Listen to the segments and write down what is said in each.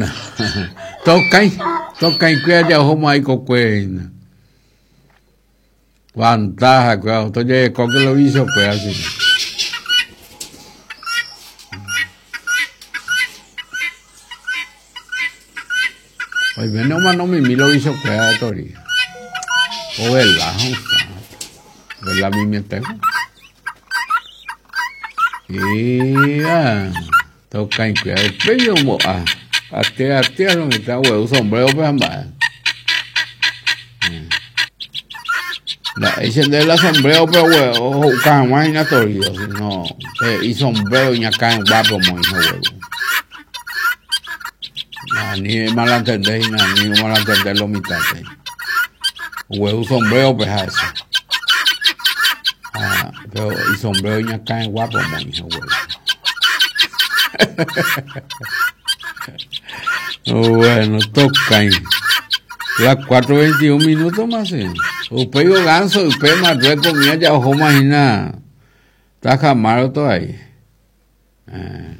Bueno, tokãi, tokãikue aja ohóma ikokuére hína. Vantaha kuéra, tojerekóke lo vicio kuéra chino. Oiméne omano mimi lo vicio kuéra de tori. Ovela hũta. Ovela mimiete. Ía, tokãikuéra upéi ombo'a. Atea atea lo mitã ogueru sombrero-pe ha mba'e. Nda'éi che nde la sombrero-pe oho'uka hag̃ua hína torío, sino pe isombrero iñakãyguápe omoĩ hogueru. Ani malantende hína, ani omalantende lo mitãpe. Ogueru sombrero-pe ha'éche. Ha pero isombrero iñakãyguápe omoĩ hogueru. Bueno, tokãi. Las 4.21 minutos más, sí. Upéi o ganso, upe Marruecos mía ya ohóma hína. Tajamar todavía. Eh.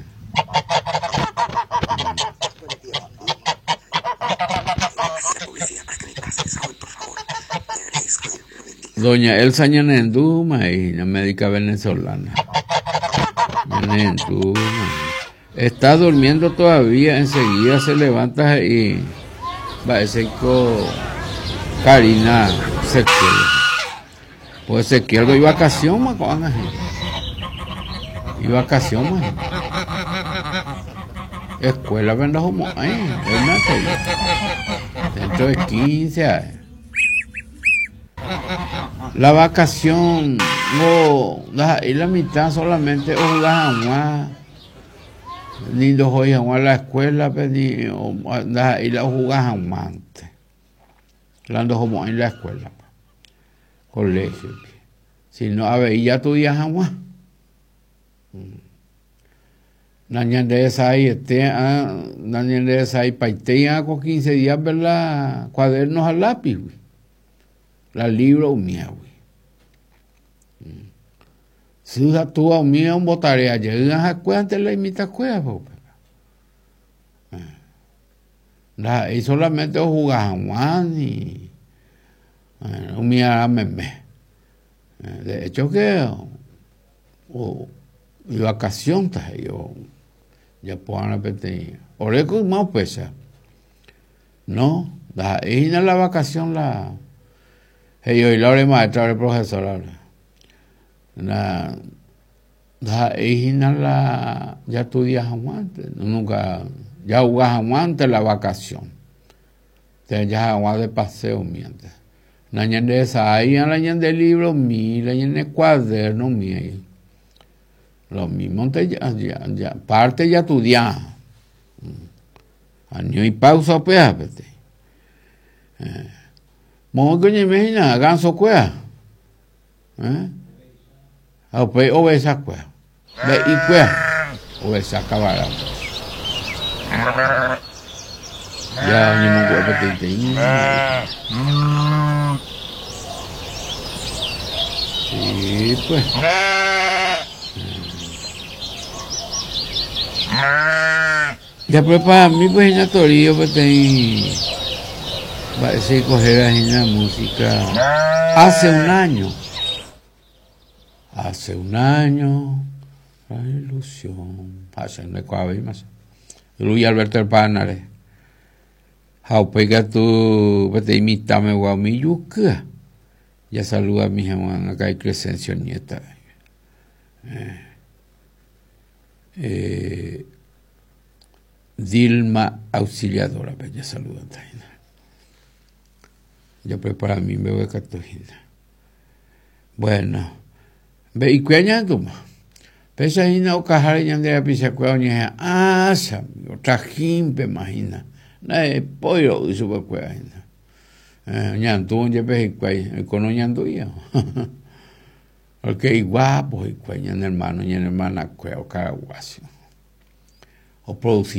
Doña Elsa ñanendúma hína, médica venezolana. Ñanendúma. Está durmiendo todavía, enseguida se levanta he'i mba'éichaiko Karina Ezequiel. Pues Ezequiel ivakasiónma ko'ág̃a he'i. Ivakasiónma he'i. Escuela-pe ndohomo'ãi, dentro de 15 ae. La vacación ngo ndaha'éi la mitã solamente ohuga hag̃ua ni ndohói hag̃ua la escuela-pe ni ndaha'éi la ohuga hag̃uánte la ndohomo'ãi la escuela-pe, colegio-pe, sino avei jatudia hag̃ua. Nañanderesaiete nañanderesaipaitéi'arã ko quince días-pe la cuaderno ha lápigui, la libro umívagui. Sy ha túva umíva ombotarea jey ha'ekuéra la imitãkuérape upéva. Ndaha'éi solamente ohuga hag̃ua ni umi ára meme. De hecho que ivakasionta he'i ojapo va'erã peteĩ ore ko yma upéicha no ndaha'éi hína la vakasión la he'i oĩ la ore maestra ore profesora la ndaha'éi hína la jastudia hag̃uánte nunca jahuga hag̃uánte la vakasión térã jaha hag̃ua de paseo umívante. Nañanderesa'áiva la ñande libromi, la ñane cuadernomi ahí. Lo mismonte ya, ya, ya, parte jastudia. Ani oĩ pausa upéva peteĩ. Eh. Moõiko oñeime hína gansokuéra. Eh. Ha upéi ovechakuéra. Mbe'ikuéra. Ovecha kavara. Ya oñemongu'e peteĩteĩ. Sí, pues. Japreparami pues hína Torío peteĩ mba'éicha héra hína música hace un año. Hace un año, la ilusión. Ha che ndekuaavéima che. Luis Alberto del Paranare. Ha upéi katu peteĩ mitãmegua umi jukýa. Jasaludami hag̃ua karai Crescencio nieta. Eh, eh, Dilma Auxiliadora-pe jasaludata hína. Japreparami mbeguekatu hína. Bueno, mbe'ikuéra ñahendúma. Péicha hína okaháre ñande rapichakuéra oñeha'ã chamigo, trajínpema hína. Nda'epói ro'y chupekuéra hína. Eh, oñandúvo jepe hikuái, oiko noñandúiva. Porque iguápo hikuái ñane hermano, ñane hermanakuéra okaraguácho. Oproduci.